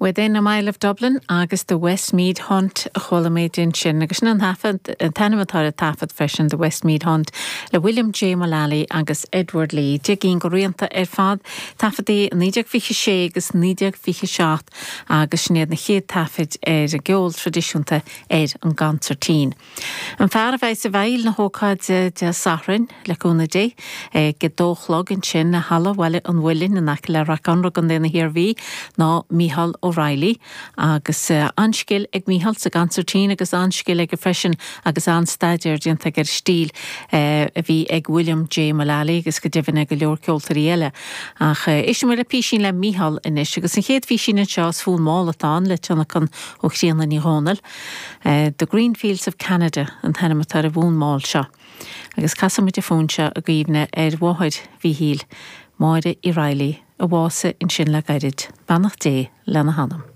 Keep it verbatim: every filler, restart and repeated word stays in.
Within a Mile of Dublin agus The Westmeath Hunt a chuala muid ansin agus sin an taifead an t-ainm atá ar an taifead freisin The Westmeath Hunt le William J. Mullally agus Edward Lee. Deich gcinn de rianta ar fad taifeadtaí naoi déag fiche sé agus naoi déag fiche seacht agus sin iad na chéad taifid ar an gceol traidisiúnta ar an gconsairtín. An fear a bheidh i bhfeighil na hócáide Dé Sathairn le cúnamh Dé ag a dó a chlog ansin i Halla Bhaile an Mhuilinn in aice le Ráth Conrach i gContae na hIarmhí ná Mícheál O'Reilly agus an-scil ag Mícheál sa gconsairtín agus an-scil aige freisin agus an-staidéar déanta aige ar stíl a bhí ag William J. Mullally agus go deimhin ag go leor ceoltóirí eile. Ach éistfidh muid le písín le Mícheál anois agus an chéad phísín anseo is fonn mall atá ann le tionlacan ó Chríona Ní Dhomhnaill. The Green Fields of Canada an t-ainm atá ar an bhfonn mall seo. Agus casfaidh muid an fonn seo i gcuimhne ar mháthair Mhíchíl, Máire Uí Raghallaigh, a bhásaigh ansin le gairid, beannacht Dé lena hanam.